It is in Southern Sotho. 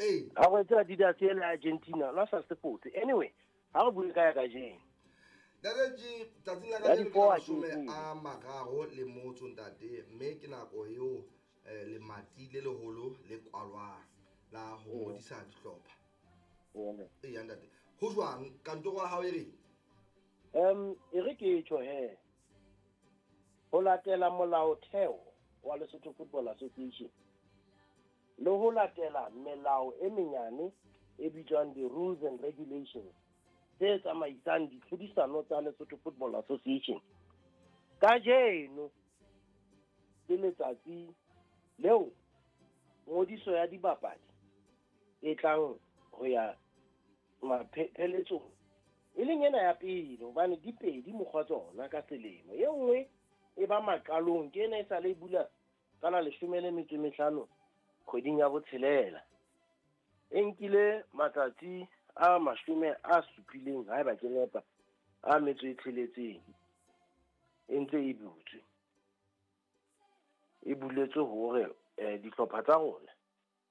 Ee. A re tseba Adidas ele Argentina, la sa se fotse. Anyway, ha re bue ka ya kajeno. Ntate G, tsatsing la Ya kajeno ke la di-four mashome Argentina. a mararo le motso ntate, mme ke nako eo lemati le leholo le kwalwang la ho ngodisa dihlopha. Eya ntate, ho jwang kantoro ya hao e reng? E re ke tjho he. Ho latela molaotheo wa Lesotho Football Association le ho latela melao e menyane e bitswang di-rules and regulations tse tsamaisang ditlhodisano tsa Lesotho Football Association. Kajeno ke letsatsi leo ngodiso ya dibapadi e tlang ho ya mapheletsong, e leng ena ya pele, hobane di pedi mokgwa tsona ka selemo. E nngwe e ba maqalong, ke ena e sale e bula ka la leshome le metso e mehlano kgweding ya botshelela. E nkile matsatsi a mashome a supileng, haeba ke nepa, a metso e tsheletseng e ntse e butswe. E buletswe hore dihlopha tsa rona